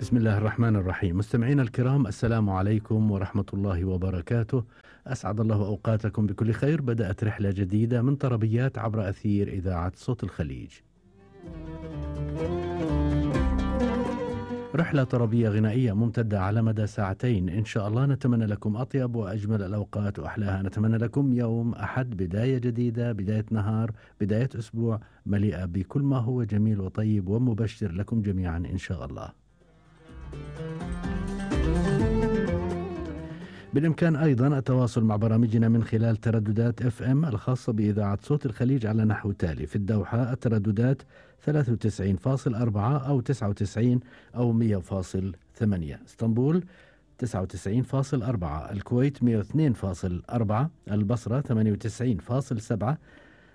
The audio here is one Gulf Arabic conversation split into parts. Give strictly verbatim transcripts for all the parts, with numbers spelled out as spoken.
بسم الله الرحمن الرحيم. مستمعينا الكرام، السلام عليكم ورحمة الله وبركاته. أسعد الله أوقاتكم بكل خير. بدأت رحلة جديدة من طربيات عبر أثير إذاعة صوت الخليج. رحلة طربية غنائية ممتدة على مدى ساعتين إن شاء الله. نتمنى لكم أطيب وأجمل الأوقات وأحلاها. نتمنى لكم يوم أحد، بداية جديدة، بداية نهار، بداية أسبوع مليئة بكل ما هو جميل وطيب ومبشر لكم جميعا إن شاء الله. بالإمكان أيضا التواصل مع برامجنا من خلال ترددات اف ام الخاصة بإذاعة صوت الخليج على نحو التالي: في الدوحة الترددات ثلاثة وتسعين فاصلة أربعة أو تسعة وتسعين أو مية فاصلة ثمانية، اسطنبول تسعة وتسعين فاصلة أربعة، الكويت مية واثنين فاصلة أربعة، البصرة ثمانية وتسعين فاصلة سبعة،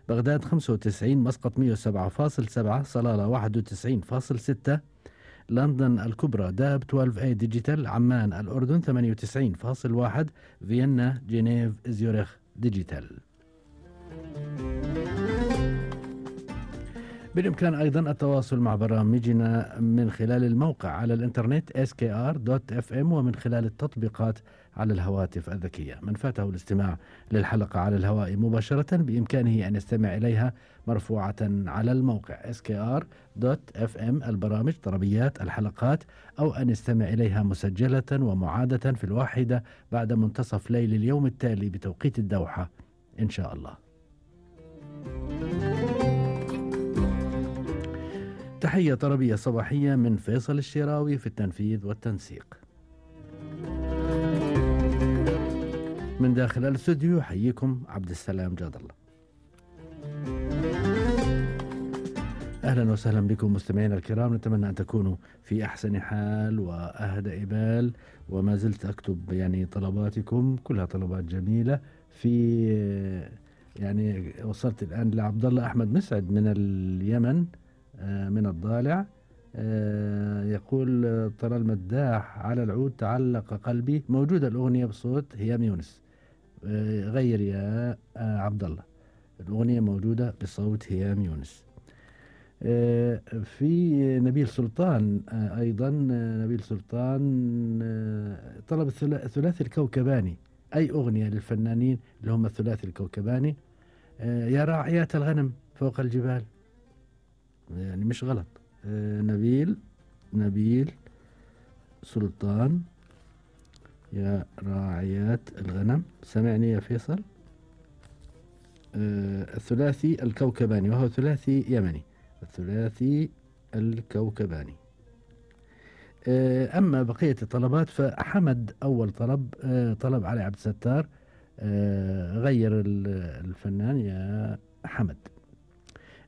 بغداد خمسة وتسعين، مسقط مية وسبعة فاصلة سبعة، صلالة واحد وتسعين فاصلة ستة، لندن الكبرى داب اثناشر اي ديجيتال، عمان الأردن ثمانية وتسعين فاصلة واحد، فيينا جنيف زيورخ ديجيتال. بالإمكان أيضا التواصل مع برامجنا من خلال الموقع على الإنترنت إس كي آر دوت إف إم ومن خلال التطبيقات على الهواتف الذكية. من فاته الاستماع للحلقة على الهواء مباشرة بإمكانه أن يستمع إليها مرفوعة على الموقع إس كي آر دوت إف إم، البرامج، طربيات، الحلقات، أو أن يستمع إليها مسجلة ومعادة في الواحدة بعد منتصف ليل اليوم التالي بتوقيت الدوحة إن شاء الله. تحية طربية صباحية من فيصل الشراوي في التنفيذ والتنسيق. من داخل الاستوديو يحييكم عبد السلام جاد الله. أهلا وسهلا بكم مستمعينا الكرام. نتمنى أن تكونوا في أحسن حال وأهدأ بال، وما زلت أكتب يعني طلباتكم كلها طلبات جميلة. في يعني وصلت الآن لعبد الله أحمد مسعد من اليمن، من الضالع، يقول: ترى المداح على العود تعلق قلبي. موجودة الأغنية بصوت هيام يونس، غير يا عبد الله، الأغنية موجودة بصوت هيام يونس. في نبيل سلطان أيضا، نبيل سلطان طلب الثلاثي الكوكباني، أي أغنية للفنانين اللي هم الثلاثي الكوكباني. يا راعيات الغنم فوق الجبال، يعني مش غلط. آه نبيل نبيل سلطان، يا راعيات الغنم. سمعني يا فيصل. آه الثلاثي الكوكباني، وهو ثلاثي يمني، الثلاثي الكوكباني. آه أما بقية الطلبات فحمد أول طلب، آه طلب علي عبد الستار، آه غير الفنان يا حمد.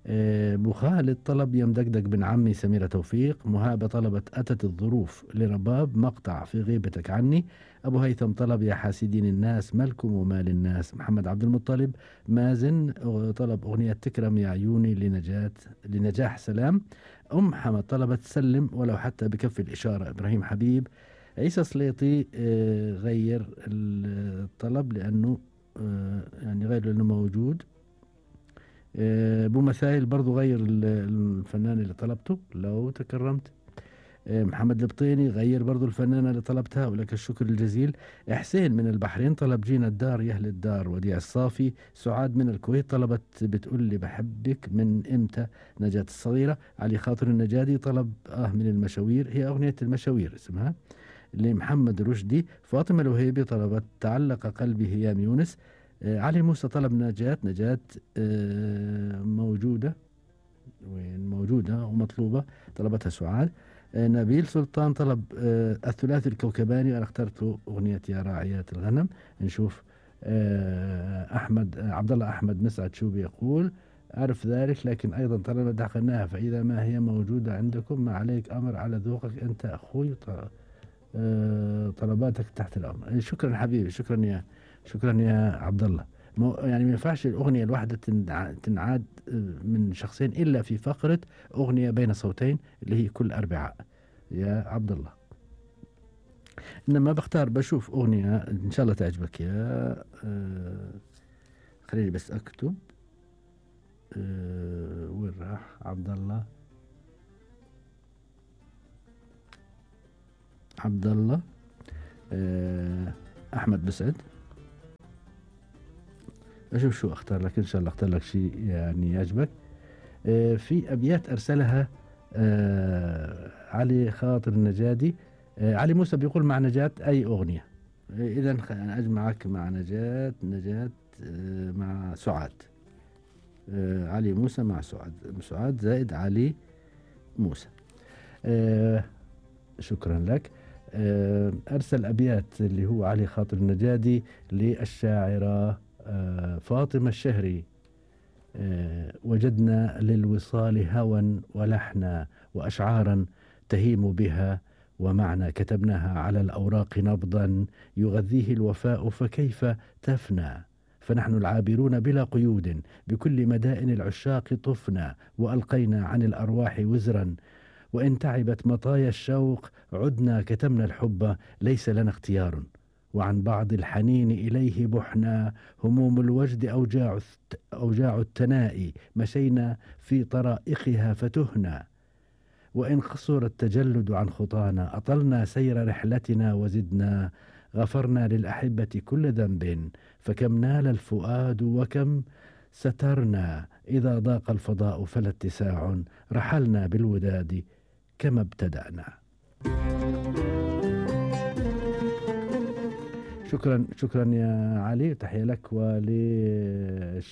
أبو خالد طلب يا مدقدق بن عمي سميرة توفيق. مهابة طلبت أتت الظروف لرباب مقطع في غيبتك عني. أبو هيثم طلب يا حاسدين الناس مالكم ومال الناس. محمد عبد المطلب. مازن طلب أغنية تكرم يا عيوني لنجاة لنجاح سلام. أم حمد طلبت سلم ولو حتى بكف الإشارة. إبراهيم حبيب. عيسى سليطي غير الطلب لأنه يعني غير لأنه موجود. ابو مثايل برضو غير الفنان اللي طلبته لو تكرمت. محمد البطيني غير برضو الفنانة اللي طلبتها ولك الشكر الجزيل. حسين من البحرين طلب جينا الدار يا اهل الدار. وديع الصافي. سعاد من الكويت طلبت بتقول لي بحبك من امتى نجاة الصغيرة. علي خاطر النجادي طلب اه من المشاوير، هي اغنية المشاوير اسمها، لمحمد رشدي. فاطمة الوهيبي طلبت تعلق قلبي هيام يونس. آه علي موسى طلب نجاة. نجاة آه موجودة، وين موجودة ومطلوبة، طلبتها سعاد. آه نبيل سلطان طلب آه الثلاثي الكوكباني، أنا اخترت أغنية يا راعيات الغنم. نشوف آه أحمد آه عبد الله أحمد مسعد شو بيقول. أعرف ذلك لكن أيضا طالما دخلناها فإذا ما هي موجودة عندكم ما عليك أمر، على ذوقك أنت أخوي، آه طلباتك تحت الأمر. شكرا حبيبي، شكرا يا شكرا يا عبد الله. يعني ما ينفعش الأغنية الواحدة تنعاد من شخصين إلا في فقرة أغنية بين صوتين اللي هي كل أربعاء يا عبد الله. إنما بختار بشوف أغنية إن شاء الله تعجبك يا آه خليني بس أكتب آه وين راح عبد الله. عبد الله، آه، أحمد مسعد. أشوف شو أختار لك، إن شاء الله أختار لك شيء يعني يعجبك. آه، في أبيات أرسلها آه، علي خاطر النجادي. آه، علي موسى بيقول مع نجاة أي أغنية. إذا أنا أجمعك مع نجاة نجاة آه، مع سعاد. آه، علي موسى مع سعاد، سعاد زائد علي موسى. آه، شكرا لك. آه، أرسل أبيات اللي هو علي خاطر النجادي للشاعرة آه، فاطمة الشهري. آه، وجدنا للوصال هوى ولحنا وأشعارا تهيم بها، ومعنى كتبناها على الأوراق نبضا يغذيه الوفاء فكيف تفنى. فنحن العابرون بلا قيود بكل مدائن العشاق طفنا، وألقينا عن الأرواح وزرا، وإن تعبت مطايا الشوق عدنا كتمنا الحب ليس لنا اختيار. وعن بعض الحنين إليه بحنا، هموم الوجد أوجاع أوجاع التناء مشينا في طرائقها فتهنا. وإن قصر التجلد عن خطانا أطلنا سير رحلتنا وزدنا، غفرنا للأحبة كل ذنب فكم نال الفؤاد وكم سترنا. إذا ضاق الفضاء فلا اتساع، رحلنا بالوداد كما ابتدأنا. شكرا شكرا يا علي، تحية لك وللشاعرة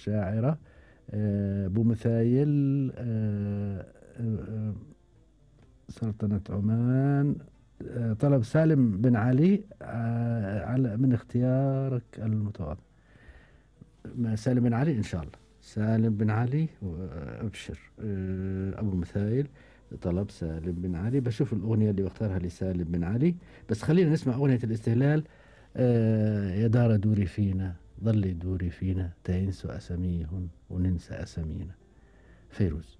أبو مثايل سلطنة عمان. طلب سالم بن علي على من اختيارك المتواضع. سالم بن علي إن شاء الله، سالم بن علي أبشر. أبو مثايل طلب سالم بن علي. بشوف الأغنية اللي بختارها لسالم بن علي، بس خلينا نسمع أغنية الاستهلال. آه يا دار دوري فينا، ظلي دوري فينا، تنسوا أسميهم وننسى أسمينا. فيروز.